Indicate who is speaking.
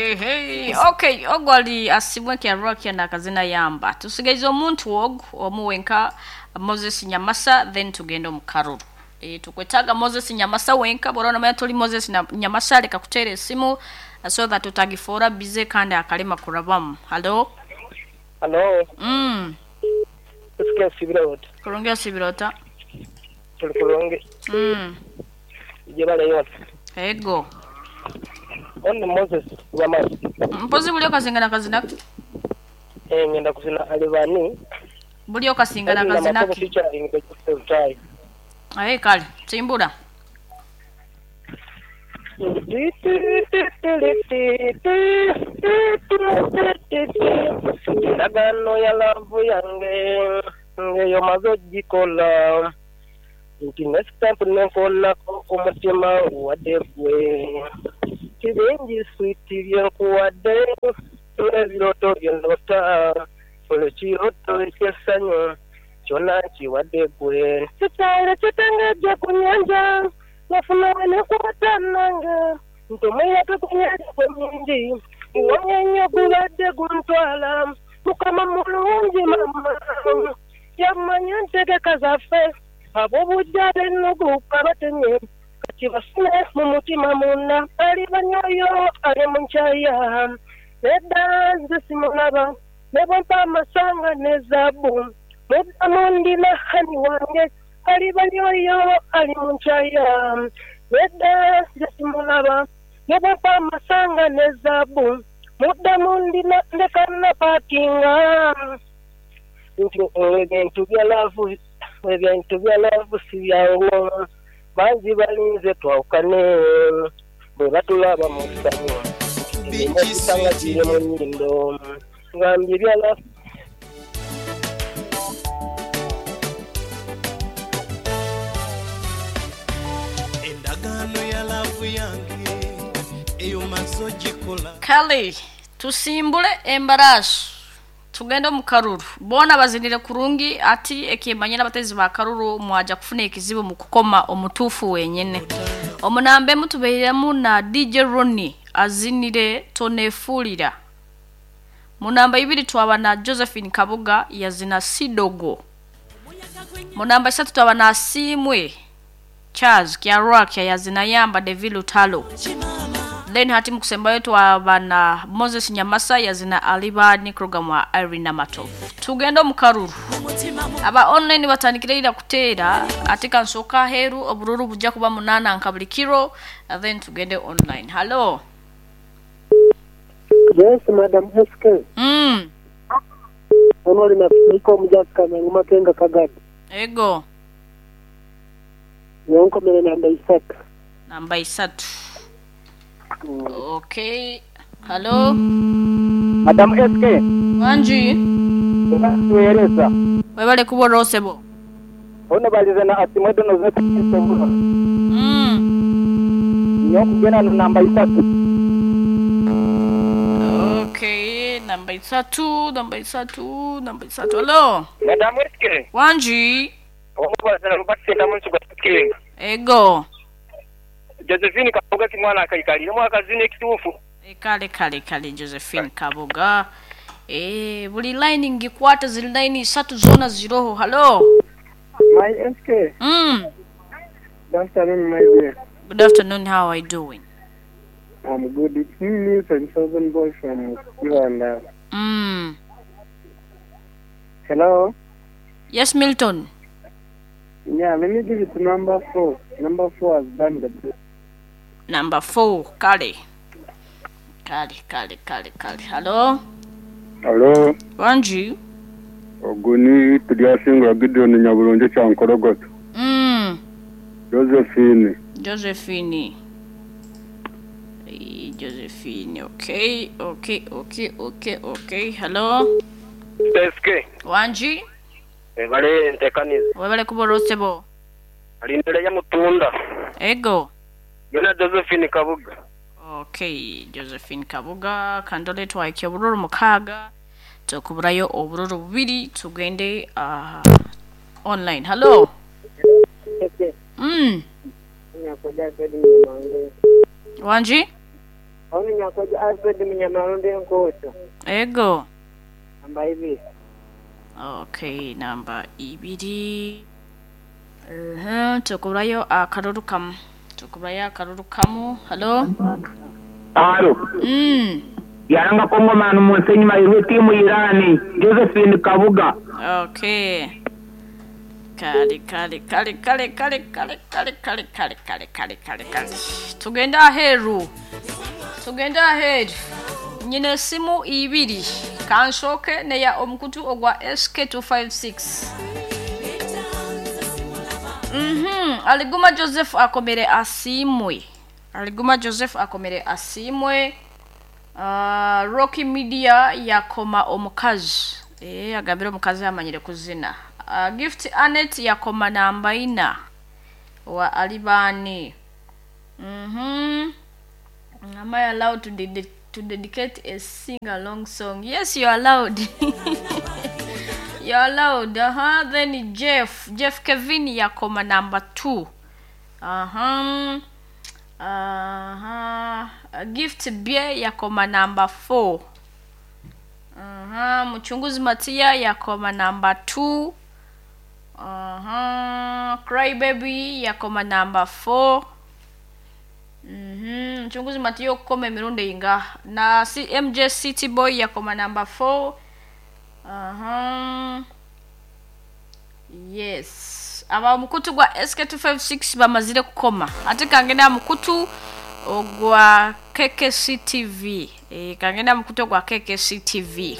Speaker 1: Hey, hey. Okay, ogwo ali asimwe kyarwakia na kazina yamba. Tusigaize omuntu ogu omuwenka Moses Nyamasa, then tugende omu karuru. Tukwetaaga Moses Nyamasa wenka, bw'oraba nomanya toli Moses Nyamasa, leka kuteera esimu so that utagifoora busy kandi akalema kurabamu. Hello?
Speaker 2: Hello. SK nsibira ota?
Speaker 1: Kurungi osibira ota?
Speaker 2: Tuli kurungi. Jebale yona.
Speaker 1: Ego.
Speaker 2: Ono Moses Nyamasa.
Speaker 1: Mpozi buli okasingana kazina?
Speaker 2: Ngenda kuzina alibani.
Speaker 1: Buli okasingana kazina ki? Aye kale, timbura.
Speaker 2: Endagaano ya love yange eyo maze ogikola nti ne stamp nenkoonako omutima nguwadde gwe kibingi switi byenkuwadde ebirooto byendoota buli kirooto eky'essanyu kyonna nkiwadde gwe kitale kitengejja ku nnyanja nafuna we nekwata nange nti omuyaga ku nnyanja gwe mungi nguwonye nnyo gubadde guntwala Mukama mulungi mama yamanya entegeka zaffe ab'obujja b'ennugu kabatemye kati bafune mu mutima munda ali banyoyo ali mu nkyaya nedda nze simulaba ne bwempa amasanga ne zaabu muddamu ndina hani wange ali banyoyo ali mu nkyaya nedda nze simulaba ne bwempa amasanga ne zaabu muddamu ndina ndeka na paakinga nti ebintu bya laavu ebintu bya laavu si byangu bangi balinze twawukane bwe batulaba mu ssanyu ekisanga kiri mu nnyindo ngambye bya laavu.
Speaker 3: Endagaano ya laavu yange eyo maze ogikola.
Speaker 1: Kale tusimbule embaraasi tugende omu karuru boona bazinire kurungi ati ekimanyira abatezi ba karuru mwaja kufuna ekizibu mu kukoma omutuufu wenyene. Omunambe mutubeiremu na DJ Ronnie azinire tonefuulira. Munamba ibiri twaba na Josephine Kabuga yazina Sidogo. Munamba isatu twaba na Simwe Charles Kyarwakia yazina Yamba Devil Lutalo. Then hati mukusembayo twaba na Moses Nyamasa yazina Alibani program wa Irene Matov. Tugenda mu karuru. Aba online batandikira ira kuteera ate kansoka heru obururu bujja kuba 8 nka buli kiro, then tugende online. Hello.
Speaker 2: Yes, Madam SK. Ono lina niko mujaka na makenga kagadi.
Speaker 1: Ego.
Speaker 2: Yonko mele namba 3.
Speaker 1: Namba 3. Okay. Hello.
Speaker 2: Madam SK.
Speaker 1: Wanji.
Speaker 2: Tueleza.
Speaker 1: Webale kubo rosebo.
Speaker 2: Ono balize na asimwedo no zetu kisombula. Nyoko gena na namba 3.
Speaker 1: Okay, namba 3, namba 3, namba 3. Hello.
Speaker 2: Madam SK.
Speaker 1: Wanji.
Speaker 2: Ono balize na rubasi na muntu kwa kilinga.
Speaker 1: Ego.
Speaker 2: Josephine Kabuga kimwana akaikalira mwaka zine ekituufu.
Speaker 1: Kale kale kale Josephine Kabuga. Buli line ngikwata zili line 3 zona ziroho. Hello.
Speaker 2: My SK. Good afternoon, my dear.
Speaker 1: Good afternoon, how are you doing?
Speaker 2: I'm good. It's me, Newton, Southern boy from Uganda. Hello?
Speaker 1: Yes, Milton.
Speaker 2: Yeah, let me give it to number 4. Number 4 has done the best.
Speaker 1: Number 4, Kale. Kale, Kale, Kale, Kale. Hello?
Speaker 4: Hello?
Speaker 1: Wanji?
Speaker 4: Oguni tuliasinga Gideon Nyabulonje cha Nkorogoto. Josephine.
Speaker 1: Josephine. Josephine, okay, okay, okay, okay, okay. Hello?
Speaker 2: SK.
Speaker 1: Wanji?
Speaker 2: Webale ntekaniza.
Speaker 1: Webale kuborosebo.
Speaker 2: Alindele ya mutunda.
Speaker 1: Ego.
Speaker 2: Yona Josephine Kabuga.
Speaker 1: Okay, Josephine Kabuga kandole twaike obururu mukaga tukuburayo obururu bubiri tugende online. Hello. Wanji?
Speaker 2: Koja Alfred Munyamarundi Enkoto.
Speaker 1: Ego.
Speaker 2: Namba ibiri.
Speaker 1: Okay, namba ibiri. Tukurayo akaruru kamu. Tukurayo akaruru kamu. Hello?
Speaker 5: Alo, yaranga Kongomani Musenyi Mahirwe timu Irani Josephine Kabuga.
Speaker 1: Okay. Kale kale kale kale kale kale kale kale kale kale kale kale kale. Tugenda aheru. Tugenda aheru. Nyine simu ibiri. Kanshoke neya omukutu ogwa SK256. Aliguma Joseph akomere asimwe. Aliguma Joseph akomere asimwe. Rocky Media yakoma omukazi. Agambira omukazi amanyire kuzina. Gift Anet yakoma namba ina wa Alibani. Am I allowed to dedicate a sing along song? Yes, you're allowed. You're allowed. Then Jeff Kevin yakoma number 2. Gift Bie yakoma number 4. Mchunguzi Matia yakoma number 2. Cry Baby yakoma number 4. Mchunguzi Matia okukoma emirundi inga na MJ City Boy yakoma number 4. Yes. Aba mukutu gwa SK256 bamazire kukoma. Ate kangenda mukutu ogwa KKC TV. Kangenda mukutu ogwa KKC TV.